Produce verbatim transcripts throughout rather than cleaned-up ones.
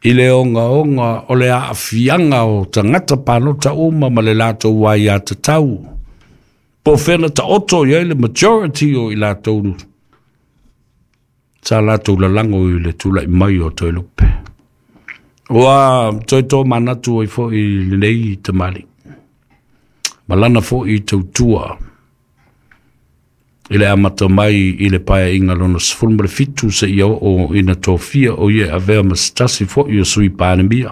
I le ogaoga o le aafiaga o tagata palota uma ma le latou aiatatau, po o fea na taoto i ai le majority o i latou sa latou lalago i le tula'i mai o Toelupe. Ua toe tomanatu ai fo'i lenei tamalii ma lana fo'i tautua i le amata mai i le Paeaiga Lona sefulu ma le fitu seia oo ina tofia o ia e avea ma se tasi fo'i o Sui Palemia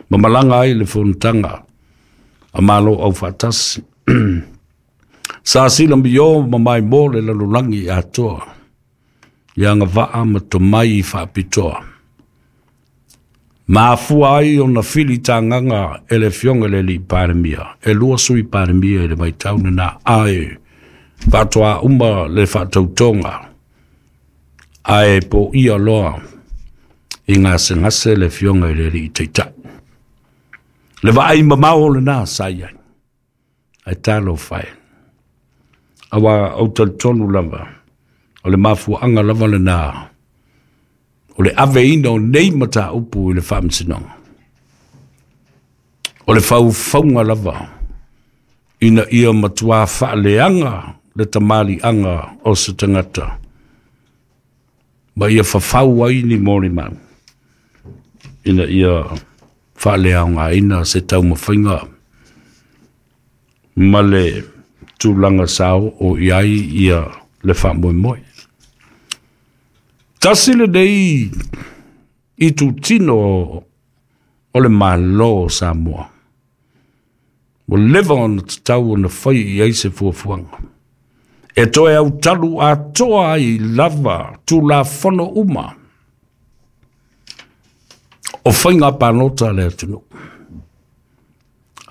ma malaga ai le fonotaga a Malo Aufaatasi. Sa silamio ma maimoa le lalolagi atoa i agavaa ma tomai faapitoa ma afua ai ona filitagaga e le Afioga i le Alii Palemia e lua Sui Palemia i le vaitau lena, ae faatoa uma le faatautoga ae poia loa i gasegase le Afioga i le Alii Taitai. Le vaai mamao lena sa i ai, ae talofa e, aua ou talitonu lava o le mafuaaga lava lena o le aveina o nei mataupu i le Faamasinoga, o le faufauga lava ina ia matuā faaleaga le tamaliiaga o se tagata ma ia fafau ai ni molimau ina ia faaleaogaina se taumafaiga ma le tulaga sao o i ai ia le faamoemoe. Tasi lenei itutino o le Malo o Samoa ua leva ona tatau ona fai i ai se fuafuaga e toe autalu atoa ai lava Tulafono uma o faiga palota a le atunuu.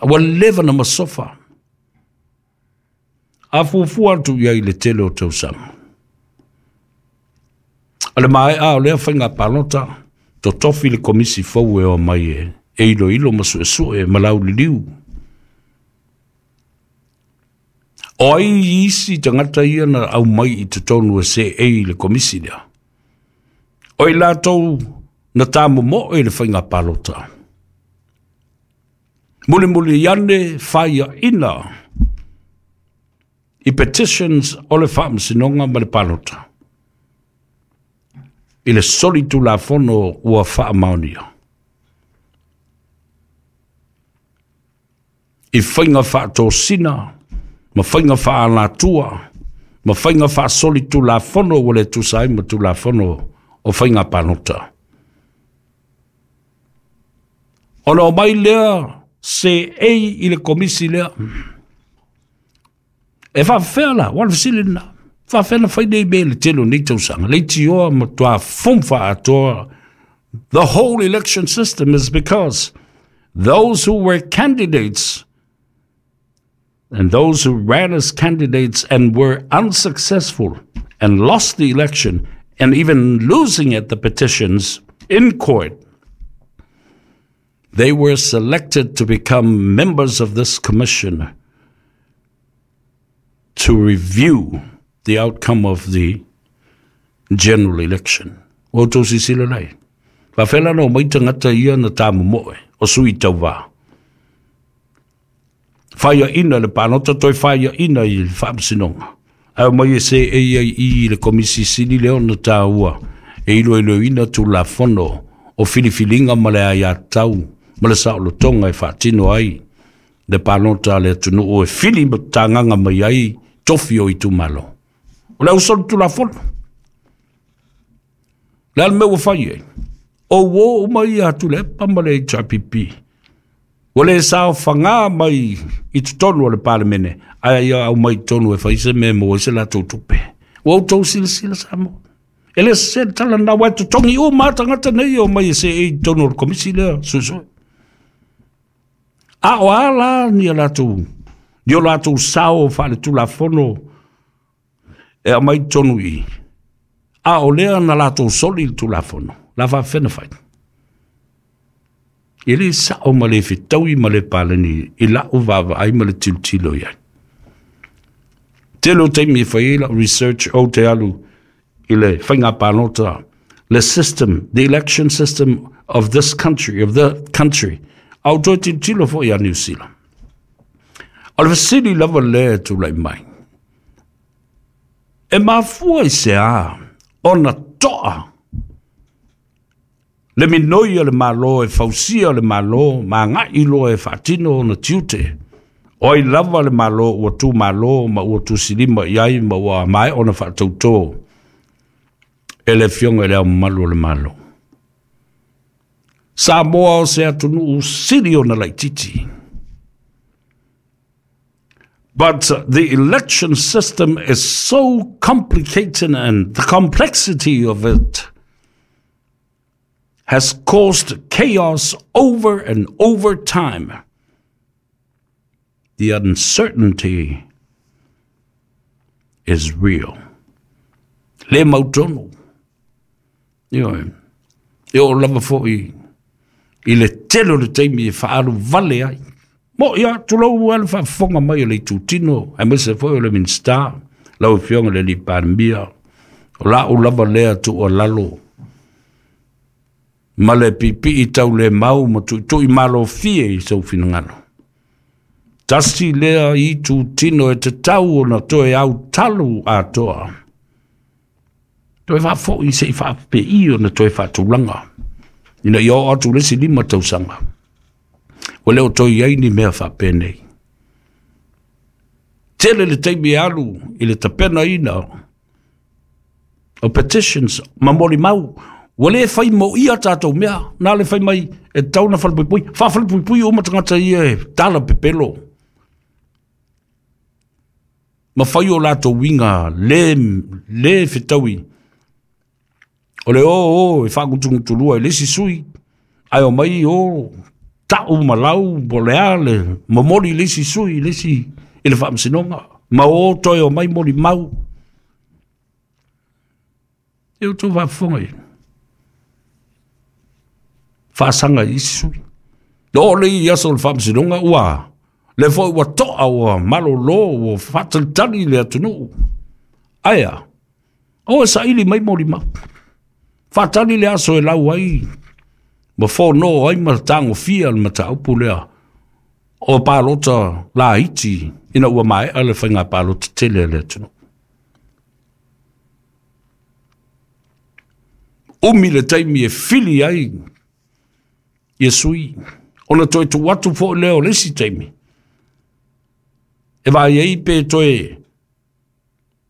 Ua leva na masofa a fuafua atu i ai i le tele o tausaga. O le maea o lea faiga palota, totofi le komisi fou e o mai e e iloilo ma suesue ma lauliliu. O ai isi tagata ia na aumai i totonu e seei le komisi lea? O i latou na tamomoe i le faiga palota. Mulimuli ane faiaina i petitions o le Faamasinoga ma le palota i le soli Tulafono ua faamaonia i faiga faatosina ma faiga faaalatua ma faiga faasoli Tulafono ua le tusa ai ma Tulafono o faiga palota. Ona omai lea seei i le komisi lea. E faafefea la? Ua le fesili lena. Faafefea na fai nei mea i le tele o nei tausaga? Leitioa matuā fumfa atoa. The whole election system is because those who were candidates and those who ran as candidates and were unsuccessful and lost the election and even losing at the petitions in court, they were selected to become members of this commission to review the outcome of the general election. Ua outou silasila lai. Faafefea la na omai tagata ia na tamomoe o sui tauvā? Faiaina le palota, toe faiaina i le Faamasinoga. Ae omai e seei ai i le komisi sili lea ona taua e iloiloina Tulafono o filifiliga ma le aiatatau ma le saolotoga e faatino ai le palota a le atunuu e fili tagaga mai ai tofi o itumalo. O le ausolo Tulafono. Le a le mea ua fai ai? O uō uma ia a Tuilaepa ma le H R P P. Ua le saofaga mai i totonu o le Palemene, ae ia aumai totonu e fai se mea e maua ai se latou tupe. Ua outou silasila, Samoa? E le sese le tala lena, aua e totogi uma lava tagata nei e omai e seei i totonu o le komisi lea suesue. A o a la ni a latou, ni o latou sao faaletulafono e aumai totonu i i? A o lea na latou soli le Tulafono, la faafefea na fai? E le sao ma le fetaui ma le paleni i lau vaavaai ma le tilotilo i ai. Tele o taimi e fai ai lau research ou te alu i le faiga palota, le system, the election system of this country, of the country. A o toe tilotilo foi ia Niu Sila. O le fesili lava lea e tulai mai. E mafua i se a ona toa le minoi o le Malo e fausia le Malo ma agai loa e faatino ona tiute. O ai lava le Malo ua tu malo ma ua tusilima i ai ma ua maea ona faatautō e le Afioga i le Ao Mamalu o le Malo. Samoa o se atunuu sili ona laititi. But the election system is so complicated and the complexity of it has caused chaos over and over time. The uncertainty is real. Le mautonu. Ioe. E oo lava foi i le tele o le taimi e faaalu vale ai. Mo ia, tulou a le faafofoga mai o le itutino, aemaise foi o le Minisita, lau Afioga i le alii Palemia, o lau lava lea tuualalo ma le pipii tau le mau ma tuitui malofie i sou finagalo. Tasi lea itutino e tatau ona toe autalu atoa. Toe faafoi se i faapei ona toe faatulaga. Ina ia oo atu le isi lima tausaga. Ua le o toe i ai ni mea faapenei. Tele le taimi e alu i le tapenaina o petitions ma molimau. Ua le fai moia tatou mea. Na le fai mai e tatau ona falepuipui. Faafalepuipui uma tagata ia e tala pepelo. Ma fai o latou uiga le, le fetaui. O le o o e faagutugutulua i le isi sui. Ae o mai o tau ma lau po o le a le momoli i le isi sui i le isi i le faamasinoga. Ma o toe o mai molimau. E outou faafofoga i faasaga i isi sui. Oo le i aso o le faamasinoga ua le foi ua toa ua malolo ua faatalitali le atunuu. Ae a, o e saili mai molimau. Faatali le aso e lau ai ma fono ai ma tagofia le mataupu lea o palota laiti ina ua maea le faiga palota tele a le atunuu. Umi le taimi e fili ai ia sui, ona toe tuu atu foi lea o le isi taimi. E vaai ai pe toe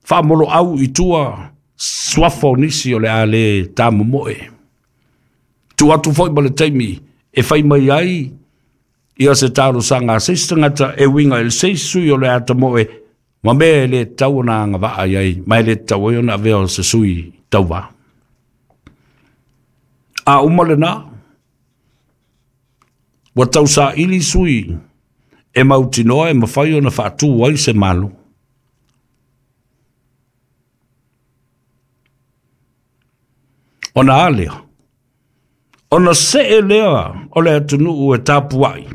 faamoloau i tua suafa o nisi o le a le tamomoe. Tuu atu foi ma le taimi e fai mai ai ia se talosaga a se isi tagata e uiga i le se isi sui o le a tamoe ma mea e le tatau ona agavaa i ai, ma e le tatau ai ona avea o se sui tauvā. A uma lena, ua tausaili sui e mautinoa e mafai ona faatu ai se Malo. Ona a lea, ona see lea o le atunuu e tapuai.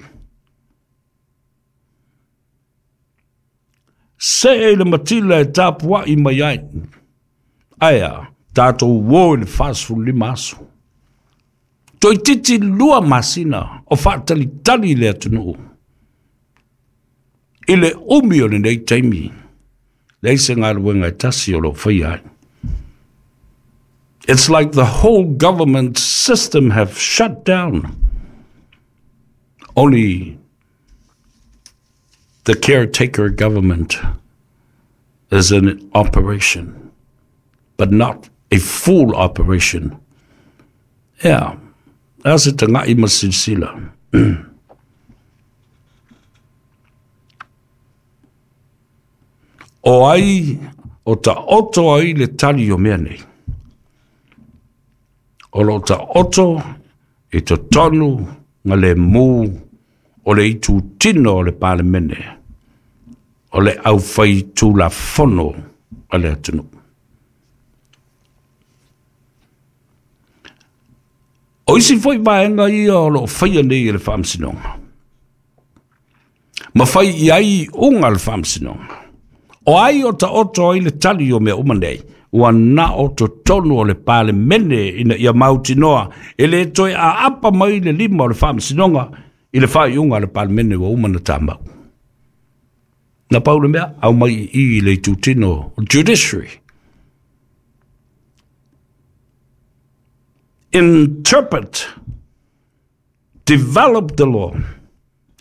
See i le matila e tapuai mai ai. Ae a, tatou uo i le fasefululima aso. Toeitiiti lua masina o faatalitali le atunuu. I le umi o lenei taimi, leai se galuega e tasi o loo faia ai. It's like the whole government system have shut down. Only the caretaker government is in operation, but not a full operation. Yeah, a se tagai ma silasila. O ai o taoto ai le tali o mea nei. O loo taoto i totonu ga le mu o le itutino o le Palemene, o le aufaitulafono a le atunuu. O isi foi vaega ia o loo faia nei e le faamasinoga. Ma fai i ai iuga le faamasinoga. O ai o taoto ai le tali o mea uma nei. Ua na o totonu o le Palemene ina ia mautinoa e le toe aapa mai le lima o le Faamasinoga i le faaiuga a le Palemene ua uma na tamau. Na pau le mea, au mai i i le itutino judiciary. Interpret, develop the law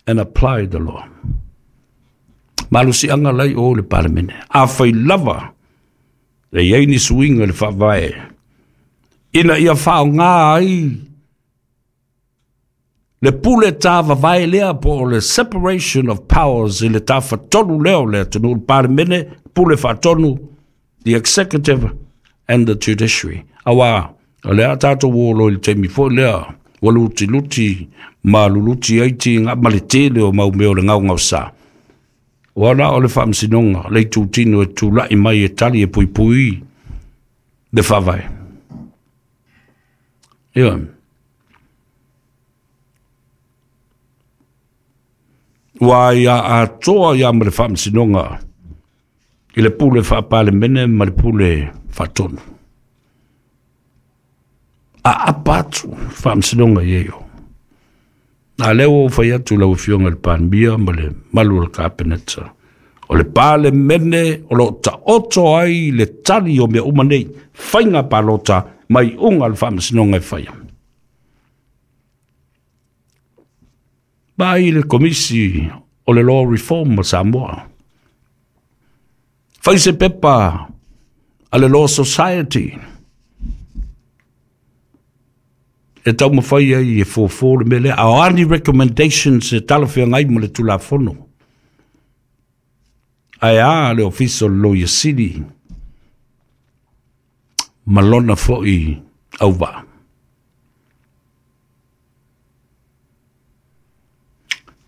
and apply the law. Malusianga lai o le Palemene. A fai lava le iai ni suiga le faavae ina ia faaaogā ai le pule tāvavae lea po o le separation of powers i le tafatolu lea o le atunuu, le Palemene, pule faatonu, the executive and the judiciary. Auā o le a tatou olo i le taimi foi lea ua lutiluti ma luluti ai tiga ma le tele o mau mea o le gaogaosa. Ua la o le Faamasinoga le itutino e tula'i mai e tali e puipui le faavae. Ia ua ia atoa ia ma le Faamasinoga i le pule faapalemene ma le pule faatonu. A apa atu Faamasinoga i ai o. A lea ua ou fai atu lau Afioga i le Palemia ma le malu o le Kapeneta, o le Palemene o loo taoto ai le tali o mea uma nei, faiga palota mai iuga a le Faamasinoga e faia. Vaai le Komisi o le Law Reform a Samoa. Fai se pepa a le Law Society e taumafai ai e fofo le mea lea. A o a ni recommendations e talafeagai ma le Tulafono? Ae a le Ofisa o le Loia Sili ma lona foi auvaa.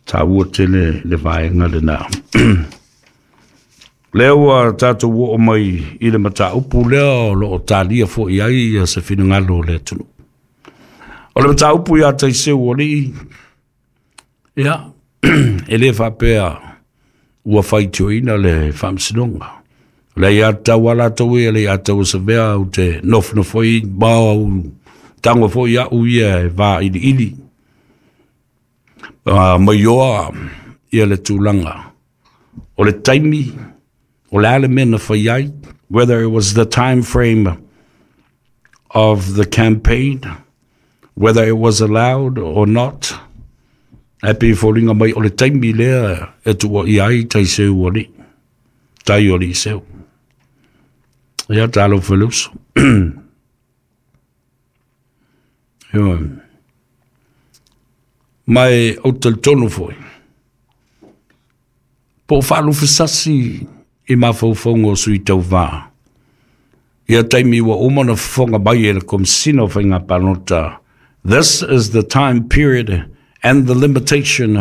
Taua tele le vaega lenā. Lea ua tatou oo mai i le mataupu lea o loo talia foi ai ia se finagalo o le atunuu. O le mataupu ia Taiseu alii, ia, e le faapea ua faitioina le Faamasinoga. O le aiatatau a latou ia, le aiatatau a Savea ou te nofonofo ai ma au tago foi au ia e vailiili. Uh, maioa ia le tulaga o le taimi o le a le mea na fai ai, whether it was the time frame of the campaign, whether it was allowed or not. Ae pei e foliga mai o le taimi lea e tuuaia ai Taiseu alii, tai o alii seu. Ia talofa i le uso. Ioe. Ma e ou te talitonu foi, po o faalufesasi i mafaufauga o sui tauvā ia taimi ua uma ona fofoga mai e le Komesina o Faiga Palota, this is the time period and the limitation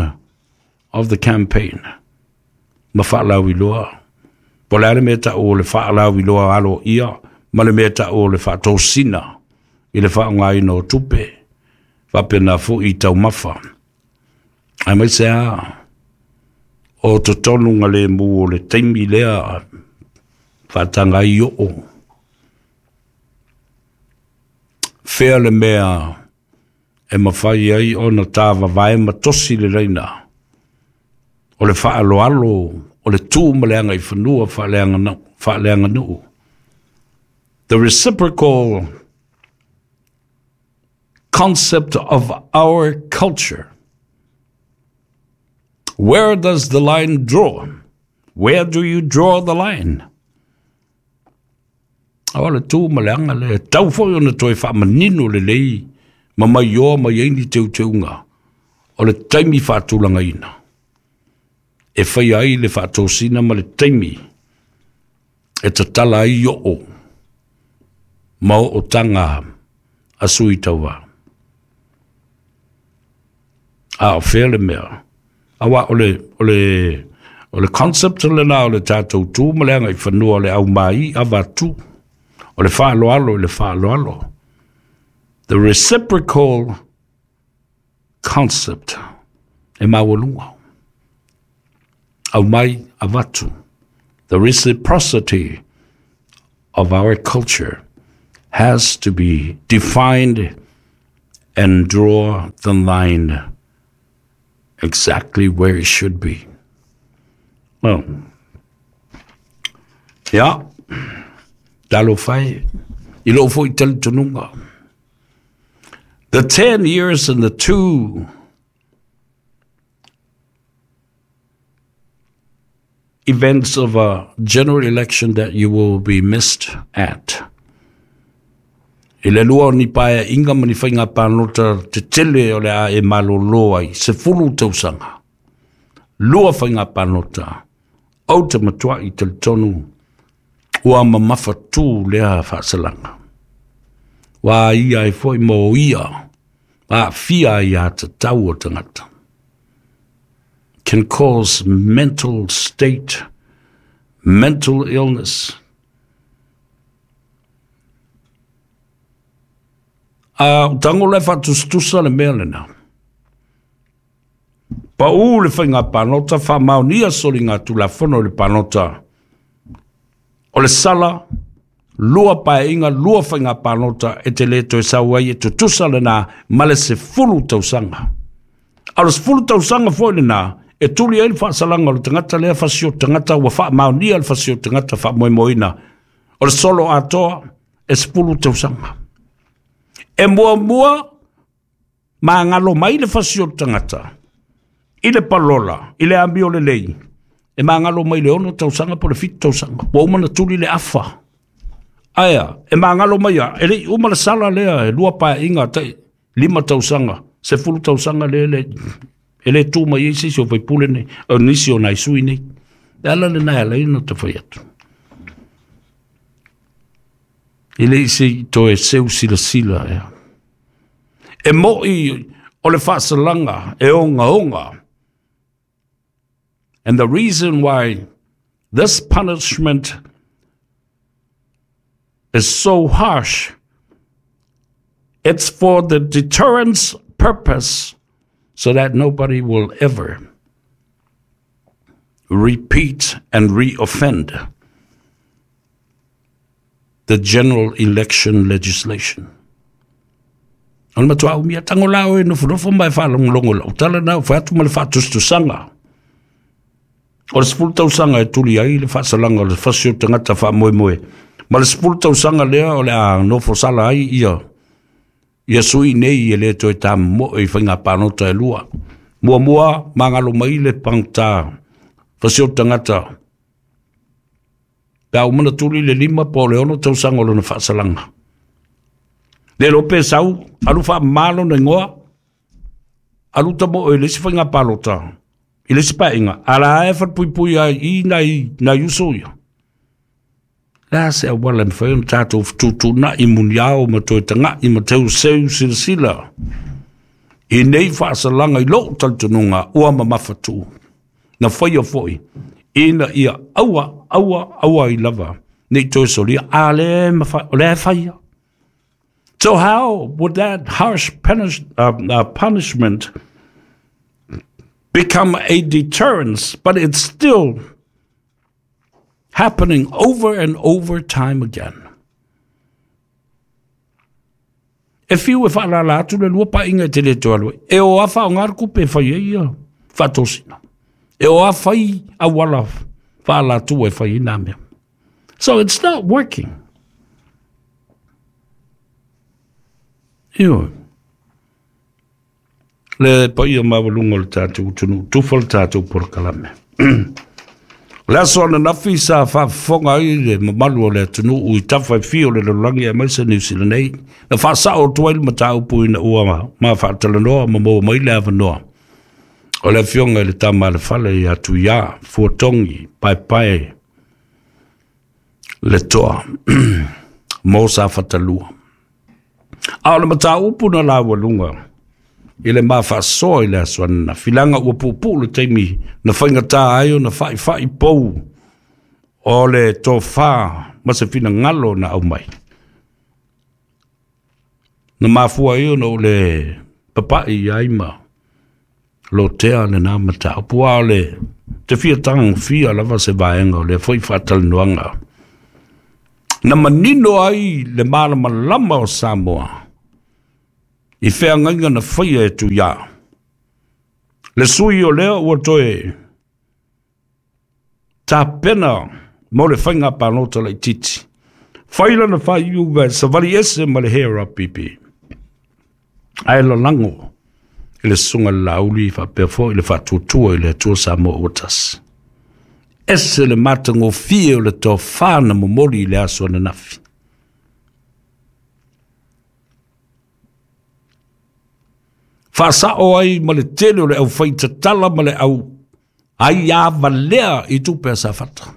of the campaign. Ma faalauiloa. Po o le a le mea tau o le faalauiloa aloaia ma le mea tau o le faatosina i le faaaogaina o tupe, faapena foi i taumafa. Aemaise lava o totonu galemu o le taimi lea faataga ai oo. Fea le mea e mafai ai ona tāvavae ma tosi le laina o le faaaloalo o le tu ma le agaifanua faaleaganuu. The reciprocal concept of our culture. Where does the line draw? Where do you draw the line? O le tu ma le aga lea, tau foi ona toe faamanino lelei ma maioa mai ai ni teuteuga o le taimi faatulagaina e faia ai le faatosina ma le taimi e tatala ai oo ma ootaga a sui tauvā. A o fea le mea? Auā o le, o le, o le concept lenā o le tatou tu ma le agaifanua o le aumai avatu, o le faaaloalo i le faaaloalo. The reciprocal concept e maualuga. Aumai avatu. The reciprocity of our culture has to be defined and draw the line exactly where it should be. Well, yeah, talofa e, i lou foi talitonuga. The ten years and the two events of a general election that you will be missed at. I le lua o ni paeaiga ma ni faiga palota tetele o le a e malolo ai, sefulu tausaga. Lua faiga palota, ou te matuai talitonu, ua mamafatū lea faasalaga. Ua ia ai foi mo ia, aafia ai aiatatau o tagata. Can cause mental state, mental illness. A o tago le faatusatusa le mea lena. Paū le faiga palota, faamaonia soliga tulafono i le palota. O le sala, lua paeaiga, lua faiga palota e te le toe sau ai e tutusa lena ma le sefulu tausaga. A o le sefulu tausaga foi lena, e tuli ai le faasalaga o le tagata lea fasi o tagata ua faamaonia le fasi o tagata faamoemoeina. O le solo atoa e sefulu tausaga. E muamua magalo mai le fasi o tagata i le palola, i le amio lelei, e magalo mai le ono tausaga po le fitu tausaga. Ua uma na tuli le afa. Aea, e magalo mai a, e lei uma le sala lea, e lua paeaiga tai lima tausaga, sefulu tausaga le le, e le tu mai ai se isi o faipule nei, o nisi o nai sui nei. E ala lena e ala ai ona tafai atu. E le i se i toe seu silasila ea. E moi o le faasalaga e ogaoga. And the reason why this punishment is so harsh, it's for the deterrence purpose, so that nobody will ever repeat and re-offend the general election legislation. O le matua umia tango lao e nofonofo mai faalogologo lau tala na o fai atu ma le faatusatusaga. O le sefulu tausaga e tuli ai le faasalaga o le fasi o tagata faamoemoe. Ma le sefulu tausaga lea o le a nofo sala ai ia ia sui nei e le toe tamomoe i faiga palota e lua. Muamua magalo mai le pagota fasi o tagata. Pe a uma na tuli le lima po o le ono tausaga o lona faasalaga. Le lo pe sau, alu faamalo na igoa, alu tamoe i le isi faiga palota, i le isi paeaiga, ala e falepuipui ai i nai, nai uso ia. Le a se auala e mafai ona tatou fetuutuunai muniao ma toe taga'i ma teuseu silasila i nei faasalaga i lou talitonuga ua mamafatū. Na faia foi, ina ia aua, aua, aua ai lava, nei toe solia, a le mafai, o le e faia. So how would that harsh punish, uh, uh, punishment become a deterrence, but it's still happening over and over time again? E fiu e faalala atu le lua paeaiga e te le toe alu ai. E o a faaaoga le kupe e fai ai ia faatosina. E o a fai auala faalatua e fai ai nā mea. So it's not working. Ioe. Le paia maualuga o le tatou atunuu, tufa le tatou polokalame. O le aso ananafi sa faafofoga ai le mamalu o le atunuu i tafa e fia o le lalolagi aemaise Niu Sila nei, na faasao atu ai le mataupu ina ua ma faatalanoa ma maua mai le avanoa o le afioga i le tama a le fale ia Tuiā, Fuatogi, Paepae, le toa, mo Safatalua. A o le mataupu na laualuga i le mafaasoa i le aso ananafi, leaga ua puupuu le taimi na faigatā ai ona faifai pou o le tofā ma se finagalo na aumai. Na mafua ai ona o le papa'i ai ma lotea lena mataupu, a o le te fia tagofia lava se vaega o lea foi faatalanoaga. Na manino ai le malamalama o Samoa i feagaiga na faia e Tuiā. Le sui o lea ua toe tapena mo le faiga palota laitiiti. Fai lana faaiuga e savali ese ma le H R P P. Ae lalago i le susuga i le Laauli faapea foi le faatuatua i le Atua Samoa ua tasi. Ese le matagofie o le tofa na momoli i le aso ananafi. Faasao ai ma le tele o le aufaitatala ma le au ai avalea i tupe a Safata.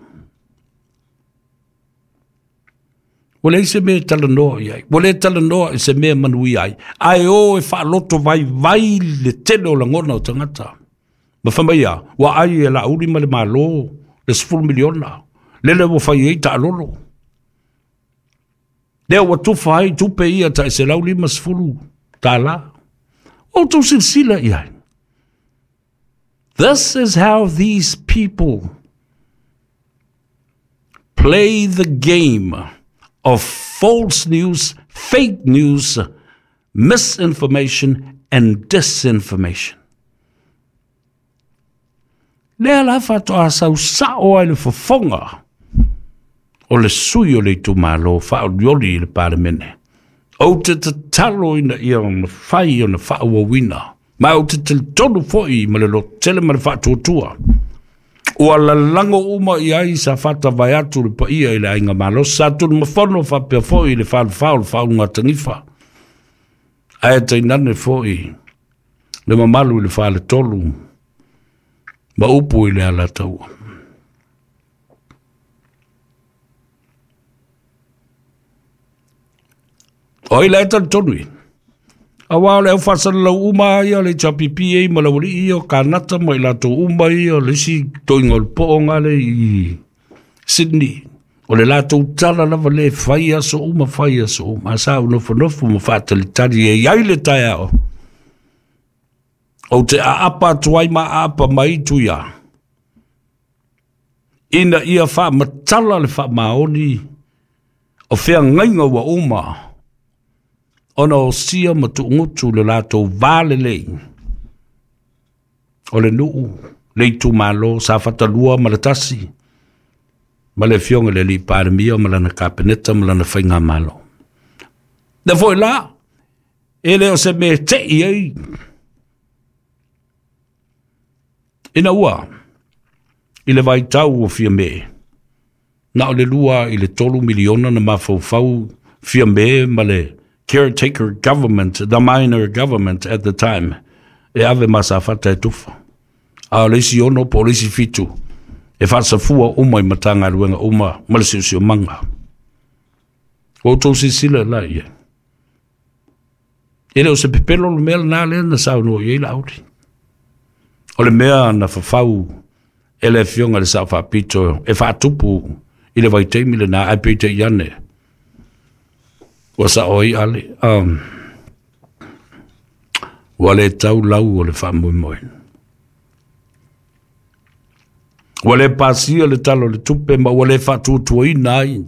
Ua leai se mea e talanoa i ai. Ua le talanoa i se mea manuia ai. Ae o e faaloto vaivai le tele o lagona o tagata. Ma fai mai ia, ua ai e Laauli ma le Malo le sefulu miliona. Lele ua fai ai taalolo. Lea ua tufa ai tupe ia tai selau lima sefulu tālā. O tou silasila i ai. This is how these people play the game of false news, fake news, misinformation and disinformation. Lea la faatoa sausao ai le fofoga o le sui o le itumalo faaolioli i le Palemene. Ou te tatalo ina ia mafai ona faaauauina, ma ou te talitonu foi ma le lototele ma le faatuatua. Ua lalago uma i ai Safata vaeatu le paia i le aiga malosi, sa Tunumafono faapea foi i le falefa o le faaugatanifa. Ae tainane foi le mamalu i le faletolu ma upu i le Alataua. O ai la e talitonu i? Aua o le aufasalalau uma ia le H R P P A ma le aualii ia o Kanata ma i latou uma ia o le isi toiga o le poo ngale i Sydney. O le latou tala lava le fai aso uma, fai aso uma. Sa u nofonofo ma faatalitali e iai le taeao. Ou te aapa atu ai ma aapa mai Tuiā. Ina ia faamatala le faamaoni o feagaiga ua uma ona o sia ma tuugutu le latou valelei o le nuu le itumalo Safata lua ma le tasi ma le afioga i le alii Palemia ma lana kapeneta ma lana faigamalo. Le foi la e le o se mea tei ai ina ua i le vaitau o Fiame na o le lua i le tolu miliona na mafaufau Fiame ma le caretaker government, the minor government at the time, e ave ma Safata e tufa. A o le isi ono po o le isi fitu, e faasafua uma i Matagaluega uma ma le siosiomaga. Ua outou silasila la ia. E le o se pepelo le mea lena lea na saunoa i ai Laauli. O le mea na fafau e le afioga i le Sao Faapito e faatupu i le vaitaimi lena, ae peitai ane ua sao ai ale. Um, ua le tau lau o le faamoemoe. Ua le pasia le tala o le tupe ma ua le faatuatuaina ai.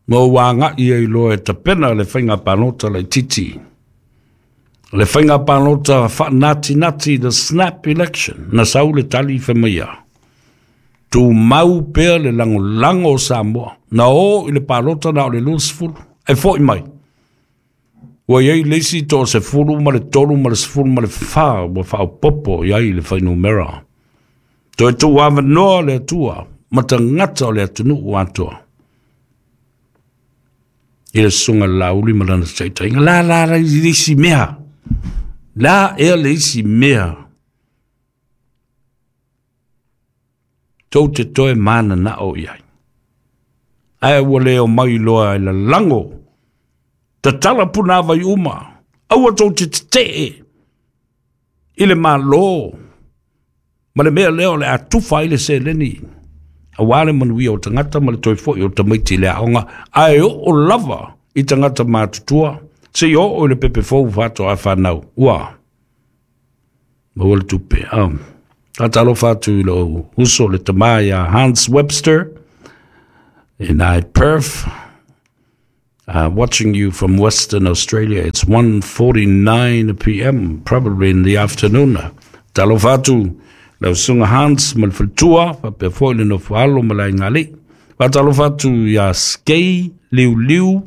Ma ua agai ai loa e tapena le faiga palota laitiiti. Le faiga palota faanatinati, the snap election, na sau le tali fai mai ia. Tumau pea le lagolago o Samoa. Na o i le palota na o le luasefulu. E foi mai. Ua iai le isi toasefulu ma le tolu ma le sefulu ma le fa ua faaopopo i ai le fuainumera. Toe tuuavanoa le Atua ma tagata o le atunuu atoa. I le susuga i le Laauli ma lana taitaiga. La la la le isi mea. La ea le isi mea. Tou te toe mananao i ai. Ae ua le o mai loa e lalago. Tatala punavai uma. Aua tou te tetee i le malo. Ma le mea lea o le a tufa ai le seleni. Aua le manuia o tagata ma le toe foi o tamaiti i le aoga. Ae oo lava i tagata matutua. Se i oo i le pepe fou faatoa fanau. Ua. Maua le tupe. Um, Faatalofa atu i lou uso le tamā ia Hans Webster in I Perth. Uh, watching you from Western Australia. It's one forty-nine p m, probably in the afternoon. Talofa atu lau susuga Hans ma le faletua, faapea foi le nofoalo ma le aigalii. Faatalofa atu iā Skei Liuliu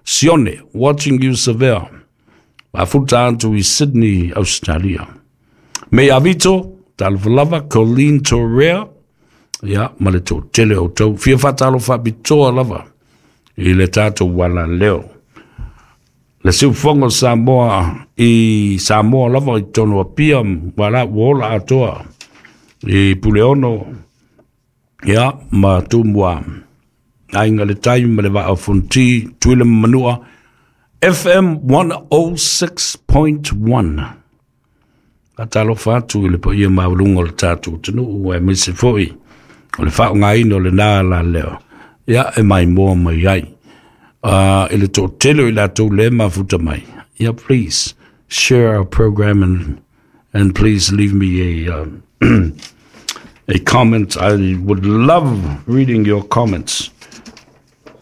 Sione, watching you Savea. Mafuta atu i Sydney, Australia. Me Avito, talofa lava, Colleen Torrea, ia, ma le toatele o outou. Fia faatalofa faapitoa lava i le tatou ualaleo. Le siufofoga o Samoa i Samoa lava i totonu Apia, wala ua ola atoa i Puleono, ia, ma Tumua. Aiga le Tai ma le Vaa o Fonoti, Tutuila ma Manua, F M one oh six point one. Faatalofa atu i le paia maualuga o le tatou atunuu, aemaise foi o le faaaogaina o lena alaleo. Ia, e maimoa mai ai. Uh, i le toatele o i latou le mafuta mai. Yeah, please share our program and and please leave me a um, a comment. I would love reading your comments.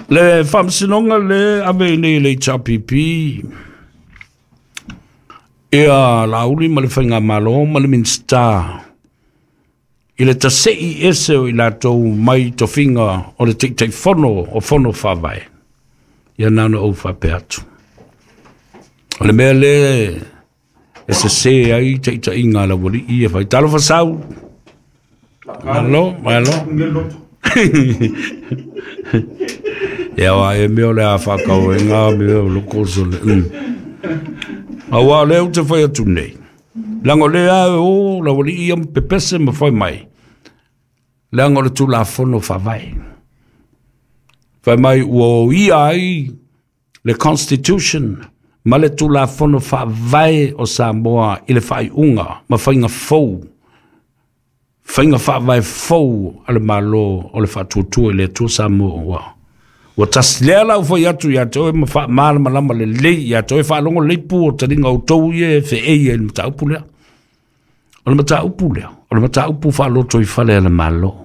Le faamasinoga le ave i nei le H R P P ia Laauli ma le Faigamalo ma le Minisita i le tase'i ese o i latou mai tofiga o le Taitaifono o Fono Faavae. Ia na ona ou faapea atu. O le mea le e sesē ai taʻitaʻiga a le aualiʻi e fai. Talofa sau. Malo, malo. Ia wa e mea o le a faakauega mea o loko so le. Mm. Auā o lea ou te fai atu nei. Leaga o lea e o le aualiʻi ia ma pepese ma fai mai. Leaga o le Tulafono Faavae. Fai mai ua oia ai le Constitution ma le Tulafono Faavae o Samoa i le faaiuga ma faiga fou. Faiga faavae fou a le Malo o le Faatuatua i le Atua Samoa ua. Ua tasi lea la ua fai atu ia te oe ma faamalamalama lelei ia te oe faalogo lelei pu o taliga outou ia e feei ai i le mataupu lea. O le mataupu lea, o le mataupu faaloto i fale a le Malo.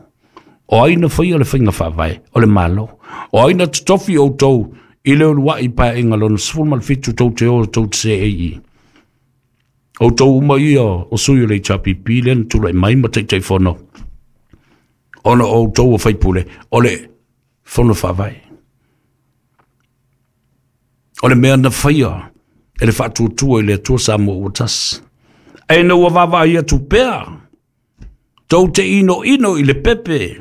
O ai na faia le faiga faavae? O le Malo. O ai na totofi outou i le uluai paeaiga lona sefulu ma le fitu tou te o tou te seei i? Outou uma ia o sui o le H R P P lea na tulai mai ma Taitaifono. Ona o outou o faipule, o le Fono Faavae. O le mea na faia e le Faatuatua i le Atua Samoa ua tasi. Ae na ua vaavaai atu pea, tou te inoino i le pepe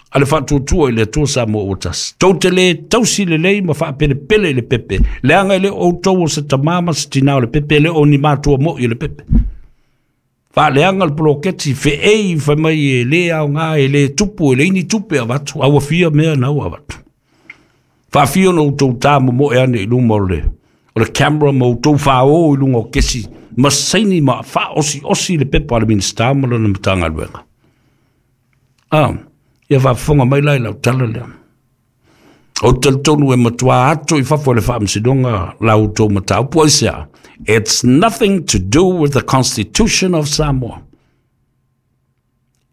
a le Faatuatua i le Atua Samoa ua tasi. Tou te le tausi lelei ma faapelepele i le pepe. Leaga e le o outou o se tamā ma se tinā o le pepe, e le o ni matua moʻi o le pepe. Faaleaga le poloketi, feei fai mai e le aoga, e le tupu, e leai ni tupe avatu, a ua fia mea na ua avatu. Faafia ona outou tamomoe ane i luma o le, o le camera ma outou fāō i luga o kesi, ma saini ma faaosi'osi le pepa a le Minisita ma lona Matagaluega. Ah, ia faafofoga mai la i lau tala lea. O talitonu e matuā ato i fafo e le Faamasinoga la outou mataupu aisea. It's nothing to do with the Constitution of Samoa.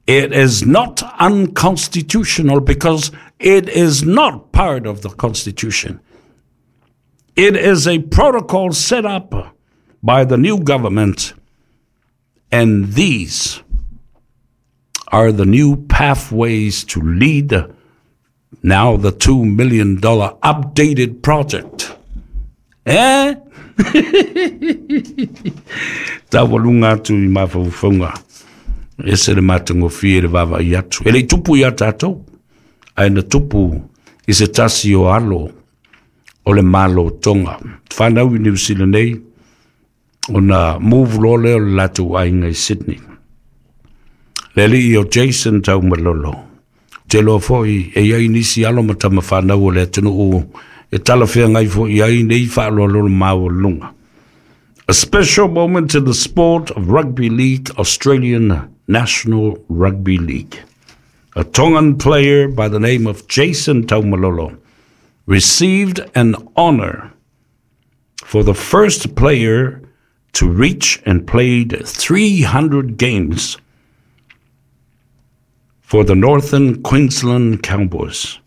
It is not unconstitutional because it is not part of the Constitution. It is a protocol set up by the new government, and these are the new pathways to lead now the two million dollar updated project. Eh? Taualuga atu i mafaufauga. Ese le matagofie le vaavaai atu. E le'i tupu iā tatou, ae na tupu i se tasi o alo o le Malo Tonga. Whanau i New Zealand nei, ona move loa lea o le latou aiga i Sydney. Le alii o Jason Taumalolo. Te loa foi e iai nisi alo ma tama whanau o le atunuu e talafeagai foi ai nei faaaloalo maualuga. A special moment in the sport of rugby league, Australian National Rugby League. A Tongan player by the name of Jason Taumalolo received an honor for the first player to reach and played three hundred games. for the Northern Queensland Cowboys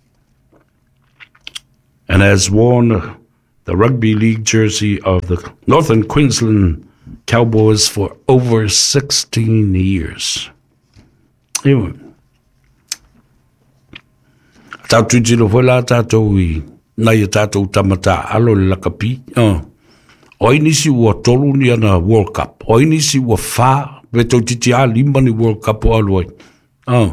and has worn the rugby league jersey of the Northern Queensland Cowboys for over sixteen years. Anyway, tātou tiro foi la tātou i nai a tātou tamata alo le lakapi. Uh. O inisi ua tolu ni ana World Cup. O inisi ua whā, pe tau titi a lima ni World Cup o alu ai. Uh.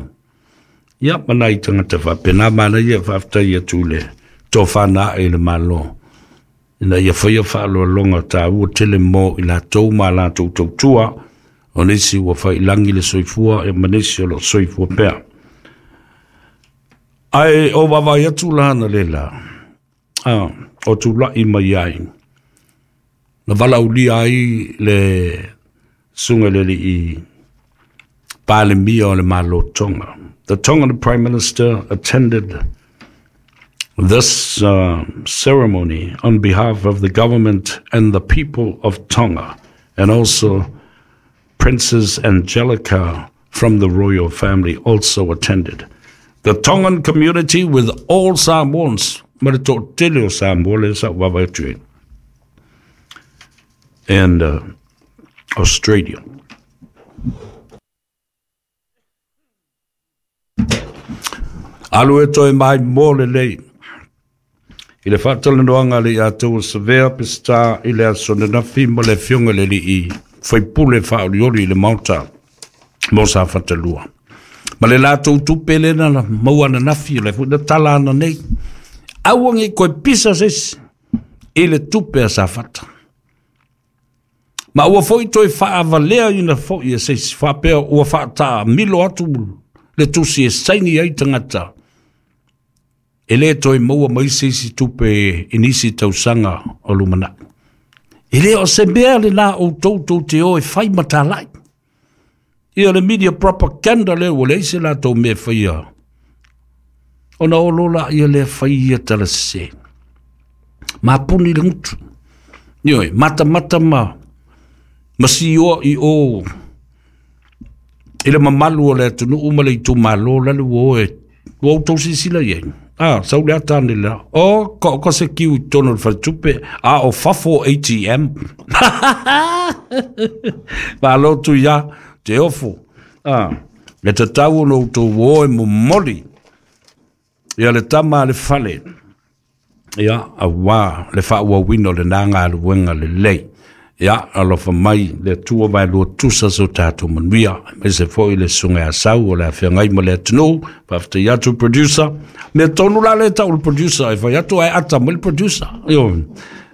Ia, mana i tangata whapena, mana ia whaftai atu le tō whana e le malo. Ina ia whaia whaaloalonga tā ua tele mō i la tau ma la tau tautua, o nisi ua whailangi le soifua e manesi o lo soifua pea. Ai o wawai atu lahana le la, ah, o tūlai mai ai. Na wala ulia ai le sunga le li i Palemia o le Malo Tonga. The Tongan Prime Minister attended this uh, ceremony on behalf of the government and the people of Tonga, and also Princess Angelica from the royal family also attended. The Tongan community with all Samoans, and uh, Australia. Alu e toi mai mō le lei. I le whaatalanoanga le atua savea pista i le aso nanafi ma le fionga le li i whaipule whaoriori i le mauta mō sa whatalua. Ma le lātou tupe le na maua nanafi le funa tala ana nei. Auangi koe pisa sesi i le tupe a sa whata. Ma ua foi toi whaavalea ina foi e sesi whapea ua whaataa milo atu le tusi e saini ai tangata. E le toi maua mai sisi tupe inisi tausanga o lumana. E le o se mea le la o tautou te o e whai matalai. Ia le media propaganda le ua le ise la tau mea whaia. Ona o lola ia le whaia tala se. Ma puni le ngutu. Ioi, mata mata ma. Ma si o i o. I le mamalu o le atunu uma le itu malo lale ua oe. Ua o tau sisila iei. Ah, sau le atane la. O, ko, ko se kiu i tono le whaltupe. A, o fafo A T M. Malo tu ia, te ofo. Ah, le tatau no tō oe momoli. Ia le tama le fale. Ia, a wā, le whaua wino le nanga le wenga le lei. Ia, alofa mai, le tua vai lua tusa so tātou manuia. Me se foi le sunga a sau o le awhiangai ma le atunu. Whafte atu producer. Me tonu la le tau le producer. E whai atu ai ata mo le producer. Io,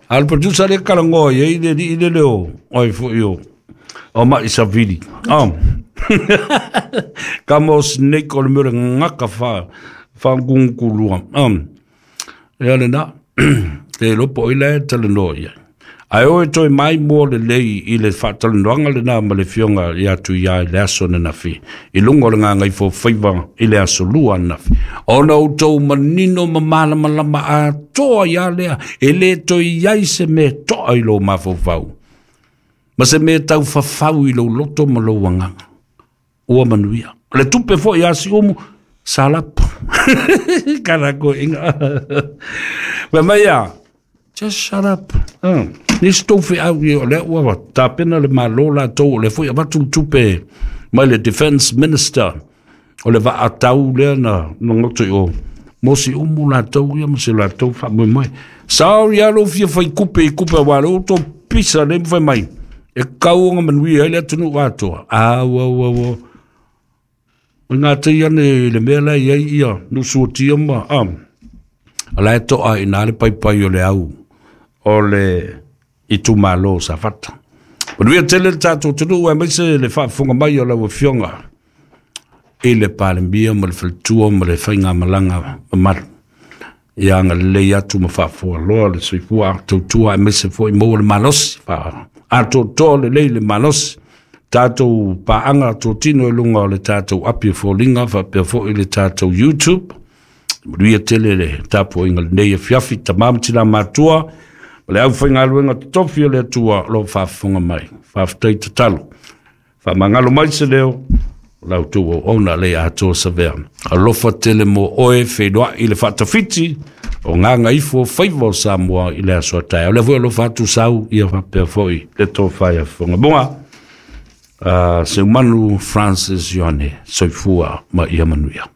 a le producer le kalangoa i le li le leo. Oi fo io. O mai savili. Oh. Ka mo snake o le mure ngaka wha. Whangunkulua. Um. Ia le na. Te lopo i le talanoa ia. Ai oe toi mai mō le lei i le whaatalanoanga le nā ma le fionga i atu ia i le aso na nafi. I lunga o le ngā ngai fō whaiwa i le aso lua nafi. Ona o tau manino ma malama lama a toa ia lea e le toi iai se me toa i lo mafofau. Ma se me tau whawhau i lo loto ma lo wanganga. Ua manuia. Le tupe fo i asi omu, salap. Karako inga. Wa maia, just shut up. Uh. Nisi tau whiau i o le ua tāpena le malo la tau o le fui avatu tupe mai le defense minister o le vaa tau lea na ngoto i o mosi umu la tau ia mo se la tau wha mui mai. Saori alo fia whai kupe i kupe wale o tō pisa le mwhai mai. E kau nga manuia le atunu atoa. Au au au au. O ngā tei ane le mea la ia ia nusuatia ma. Am. Ala e toa i nā le pai pai o le au o le i tūmalo sa whata. Manuia tele le tātou tunu ua maise le whaafunga mai o lau fionga i le palemia ma le whaltua ma le whainga malanga mamalu. Ia nga lei atu ma whaafua loa le soifua tautua e maise foi maua le malosi. A tō le lei le malosi. Tātou paanga tōtino e lunga o le tātou api fōlinga whapea foi le tātou YouTube. Manuia tele le tāpo inga nei e fiafi tamamati la matua. Ma le au whaingaluenga totofi o le atua lo whaafunga mai. Whaaftai tatalo. Whaamangalo mai se leo. Lau tu o ona le atoa savea. Alofa tele mo oe whenua i le whaatawhiti o ngā ifo faiva o Samoa i le aso tae. O le fue alofa atu sau ia whapea foi le tō whaia whanga bunga. Uh, Seumanu Francis Ioane, soifua ma ia manuia.